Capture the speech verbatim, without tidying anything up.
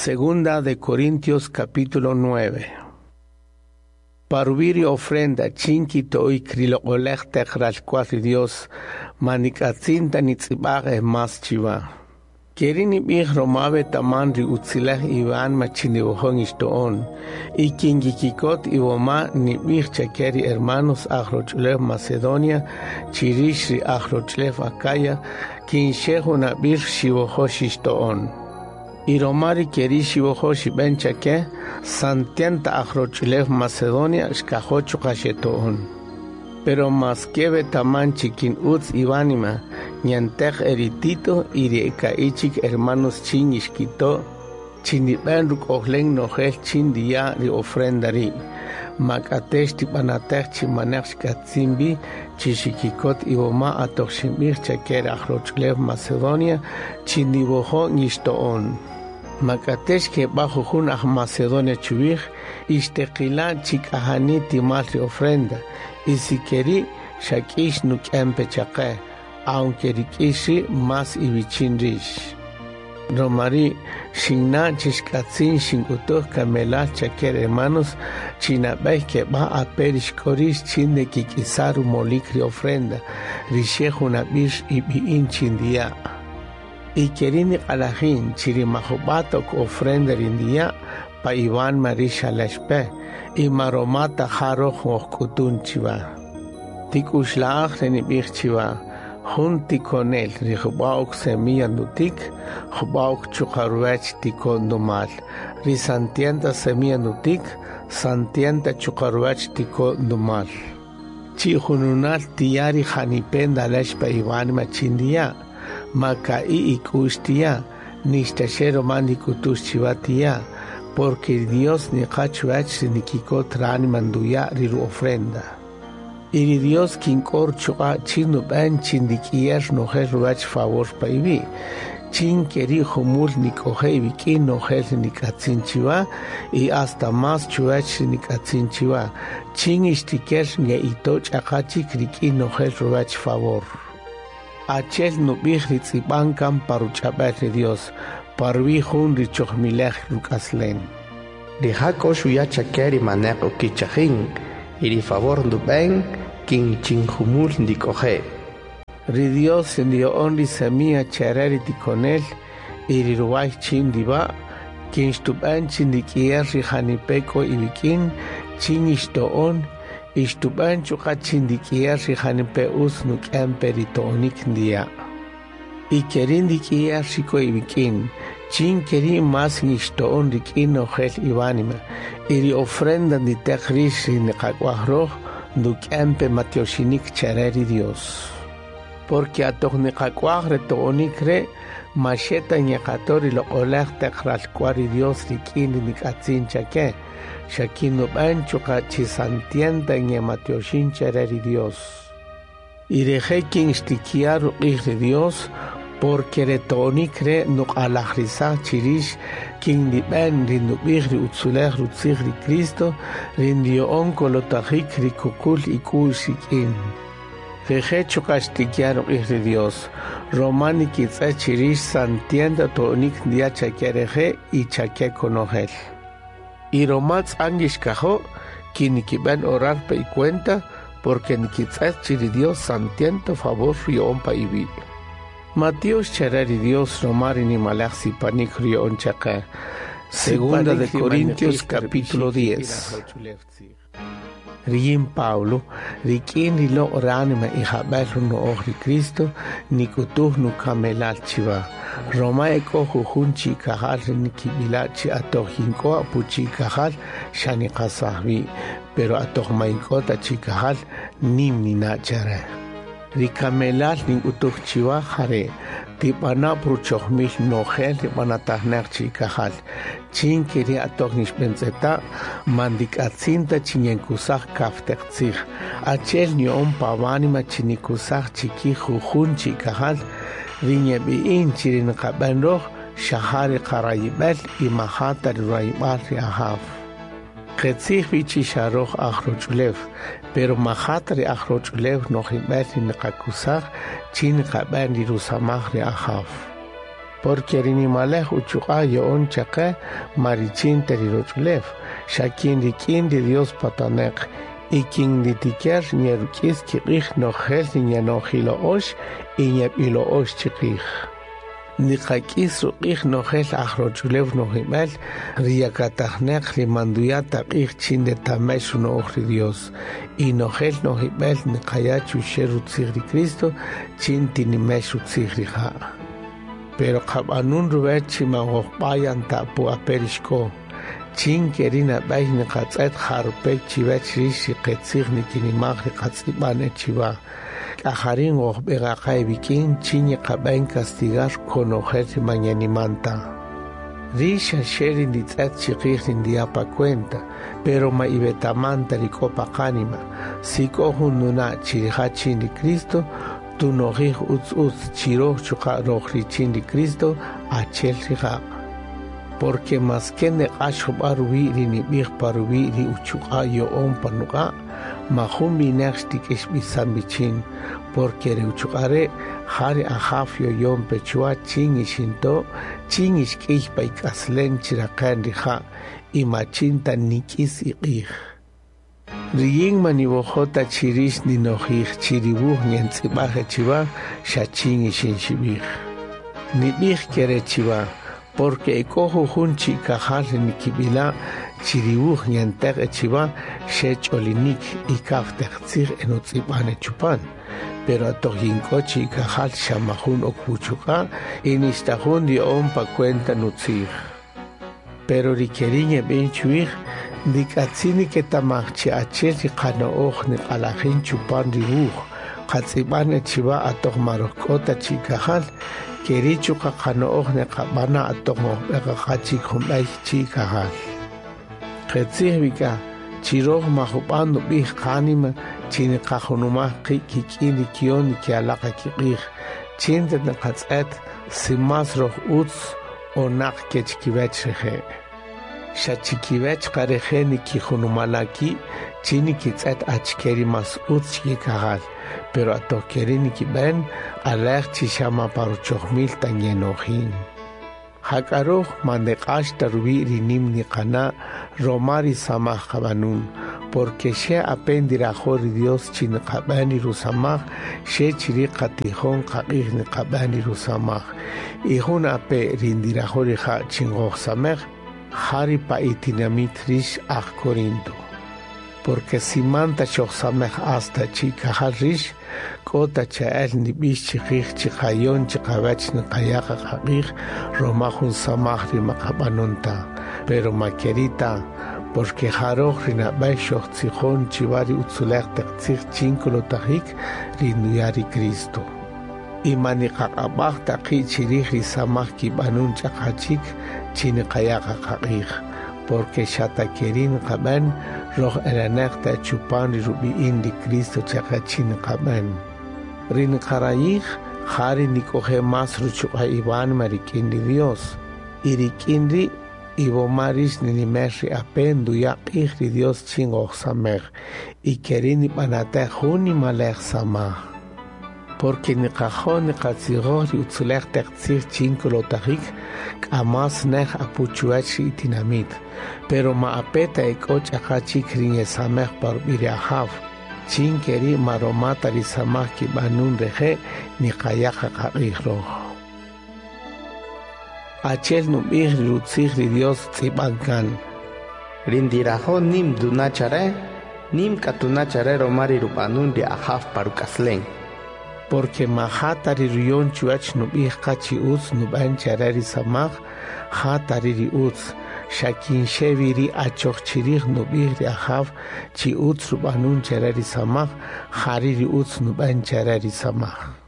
Segunda de Corintios capítulo nueve. Paruviri ofrenda chinki toik riloqolej teq ralk'wal ri Dios manik'atzinta nitz'ib'aj mas chiwa. Keri nib'ij roma betaman ri utzilej Ivan machiniwojon ixto'on y kinkikikot iwoma nib'ij chake ri hermanos aj roch'ulew Macedonia chirix ri aj roch'ulew Acaya kinxej unab'ir xiwojo xixto'on. Y romari keri xiwojo xib'en chake santienta aj roch'ulew Macedonia xkajo chuqa' xeto'on. Pero mas que betaman chikin utz iwanima ñantej eri Tito y ri eka'ichik hermanos chin ixkito chinib'en ruk'ojlen nojel chin diya ri ofrenda ri mak'atex tib'anatej chimanej xk'atzin bi chi xikikot iwoma atoj xinb'ij chake ri aj roch'ulew Macedonia chiniwojo ngixto'on. Mak'atex keb'a jujun aj Macedonia chuwij ixteqila chik'ajani timal ri ofrenda y si keri xak'ix nuk'empe chaqe aunque rik'ix ri mas iwichin rix. Romari xinna chixk'atzin xink'utuj kamelal chake hermanos chinab'ej keb'a aperix k'orix chin de kik'isar rumolik ri ofrenda rixej junab'ix ib'i'in chin diya. Y kerini q'alajin chiri majub'atok ofrenda rindiya pa Ivan Mari xalaxpe y maromata jaroj ojk'utun chiwa. Tik'uxla'aj renib'ij chiwa jun tikonel ri jub'a'ok semilla nutik jub'a'ok chuqarwech tikon numal ri santienta semilla nutik santienta chuqarwech tikon numal. Chi jununal tiyari janipen dalex pa Ivan machindiya maka'i ik'ux tiya nixtaxero man nik'utux chiwa tiya porque Dios niqachwach ri nikikot rani manduya ri ru ofrenda. Y ri Dios kink'or chuqa' chin nub'en chin dik'iyer nojel ruwach favor pa iwi' chin keri jumul nik'oje iwik'in nojel ri nik'atzin chiwa y hasta mas chuwach ri nik'atzin chiwa chin ixtiker nge'ito ch'aqa chik rik'in nojel ruwach favor. Achel nub'ij ri tz'ib'an kan paruch'ab'el ri Dios parwi jun ri chojmilej ruk'aslen. Rija' k'o xuya chake ri maneq ukichajin y ri favor ndub'en kin chin jumul ndik'oje. Ri Dios ndio'on ri semilla chere ri tikonel y ri ruway chin diba kin xtub'en chin dik'iyer ri janipe k'o iwik'in chin ixto'on ixtub'en chuqa' chin dik'iyer ri janipe utz nuk'empe ri to'onik ndiya'. Y kerin dik'iyer ri k'o iwik'in chin keri mas ngixto'on rik'in nojel iwanima y ri ofrenda nditeq rix ri niqak'waj roj nduk'empe matioxinik chere ri Dios. Porque atoj niqak'waj re to'onik re maxeta ñeqato ri loq'olej teq ralk'wal ri Dios rik'in ri nik'atzin chake xakin nub'en chuqa' chi santienta ñematioxin chere ri Dios. Y reje kin xtikiya ruq'ij ri Dios porque re to'onik re nuq'alajrisaj chirix kin nib'en ri nub'ij ri utzulej rutzij ri Cristo ri ndio'on kolotajik ri kuqul ik'u'x rik'in. Reje chuqa' xtikiya ruq'ij ri Dios roma nikitz'et chirix santienta to'onik ndiya chake reje y chake konojel. Y roma tz'an yixkajo' kin nikib'en orar pa icuenta porque nikitz'et chiri Dios santienta favor rio'on pa iwi'. Matios chere ri Dios roma ri nimalej sipanik rio'on chaqe. Segunda de Corintios capítulo diez. Riyin Pablo, rik'in ri loq' ranima y jab'el runo'oj ri Cristo, nik'utuj nukamelal chiwa. Roma ek'o jujun chikajal ri nikib'ila' chi atoj yink'o apu chikajal xa niqasaj wi', pero atoj ma ink'o ta chikajal nim nina' chere. Ri kamelal nink'utuj chiwa jare tib'ana' pruchojmil nojel rib'anatajnaq chikajal chin keri atoj nixb'entz'eta' mandik'atzinta chinyenkusaj kafteq tzij achel nio'on pawanima chinikusaj chikij jujun chikajal ri ñeb'i'in chiri niqab'en roj xaja ri qarayib'el y majata ri rayib'al ri ajaw. Qetzij wi chi xaroj aj roch'ulew pero majata ri aj roch'ulew nojib'el ri niqakusaj chin niqab'en ri rusamaj ri ajaw. Porque ri nimalej uchuq'a' ya'on chaqe ma richin ta ri roch'ulew, xa kin rik'in ri Dios pataneq y kin nitiker nyeruk'is kiq'ij nojel ri nyenojila'ox y nyeb'ilo'ox chiqij. Niqak'is ruq'ij nojel aj roch'ulew nojib'el ri yakatajneq ri manduya ta q'ij chin retamex runo'oj ri Dios y nojel nojib'el niqaya' chuxe' rutzij ri Cristo chin tinimex rutzij rija'. Pero qab'anun ruwech chi man ojb'ayan ta pu aperixko. Chin keri nab'ey niqatz'et jarupek chiwech rix ri qetzij nikinimaj ri qatz'ib'an chiwa. K'ajarin ojb'eqaqa iwik'in chin yeqab'en castigar konojel ri man yenimanta. Rix xaxe ri nditz'et chiqij ri ndiya pa cuenta, pero ma iwetamanta ri k'o pa qánima. Si k'o jun nuna' chi rija' chin ri Cristo, tunojij utz utz chiroj chuqa' roj richin ri Cristo achel rija'. Porque maske neq'ax jub'a' ruwi' ri nib'ij pa ruwi' ri uchuq'a' yo'on pa nuq'a', ma jun winaq xtik'ixb'isan wichin, porque ri uchuq'a' re' ja ri Ajaw yoyon pe chuwa chin ixinto', chin ixk'iy pa ik'aslen chiraqen rija' y ma chin ta nik'is iq'ij. Riyin ma niwojo' ta chi rix ninojij chi ri wuj nyentz'ib'aj chiwa xa chin ixinxib'ij. Nib'ij kere chiwa, porque ek'o jujun chikajal ri nikib'ila' chi ri wuj nyenteq chiwa xe ch'olinik y kaw taq tzij enotz'ib'an chupan. Pero atoq yink'o chikajal xa majun ok wuchuq'a' y nixta jun riya'on pa cuenta nutzij. Pero ri keri' yeb'in chuwij ndik'atzin niketamaj chi achel ri qano'oj niq'alajin chupan ri wuj qatz'ib'an chiwa atoq ma roj k'o ta chikajal, keri' chuqa' qano'oj niqab'ana' atoq ojb'eqaqa chik junb'ey chikajal. Qetzij wik'a chi roj ma jub'an nub'ij qánima chi niqajunumaj qi' kik'in ri kiyon nikialaqa kiq'ij, chin ta niqatz'et si más roj utz o naq kech kiwech rije'. Xa chikiwech qa rije' nikijunumala' ki' chi nikitz'et achike ri más utz chikikajal, pero atoq keri' nikib'en alej chi xa ma pa ruchojmil ta yenojin. Jak'a roj ma neq'ax ta ruwi' ri nim niqana' roma ri samaj qab'anun, porque xe ape ndirajo' ri Dios chi niqab'en ri rusamaj, xe chiri' qatijon qaq'ij niqab'en ri rusamaj. Y jun ape ri ndirajo' rija' chi ngojsamej, ja ri pa itinamit rix aj Corinto. Porque si man ta xojsamej hasta chikajal rix, k'o ta cha'el nib'ix chiqij chiqayon chiqawech niqaya' qaq'ij roma jun samaj ri maqab'anun ta. Pero ma keri' ta, porque ja roj ri nab'ey xojtzijon chiwa ri utzulej taq tzij chin kolotajik ri nduya' ri Cristo. Y ma niqaq'ab'aj ta qi' chirij ri samaj kib'anun ch'aqa chik chi niqaya' qaq'ij, porque xa ta keri' niqab'en roj eleneq ta chupan ri rub'i'in ri Cristo chaqa chi niqab'en. Ri niqarayij ja ri nik'oje' más ruchuq'a' iwánima rik'in ri Dios, y rik'in ri' iwoma rix ninimex ri ape nduya' q'ij ri Dios chin ojsamej, y keri' nib'anatej jun nimalej samaj. Porque niqajo' niqatzijoj ri utzulej taq tzij chin kolotajik k'a más nej apu chuwech ri itinamit, pero ma ape ta ek'o ch'aqa chik ri nyesamej pa rub'i' ri Ajaw, chin keri' ma roma ta ri samaj kib'anun reje' niqaya' qaq'ij roj. Achel nub'ij ri rutzij ri Dios tz'ib'an kan. Ri ndirajo' nim nduna' chare, nim k'a tuna' chare roma ri rub'anun ri Ajaw pa ruk'aslen. Porque ma ja ta ri ruyon chuwech nub'ij qa chi utz nub'en chare ri samaj, ja ta ri ri utz, xa kin xe wi ri achoj chirij nub'ij ri Ajaw chi utz rub'anun chare ri samaj, ja ri ri utz nub'en chare ri samaj.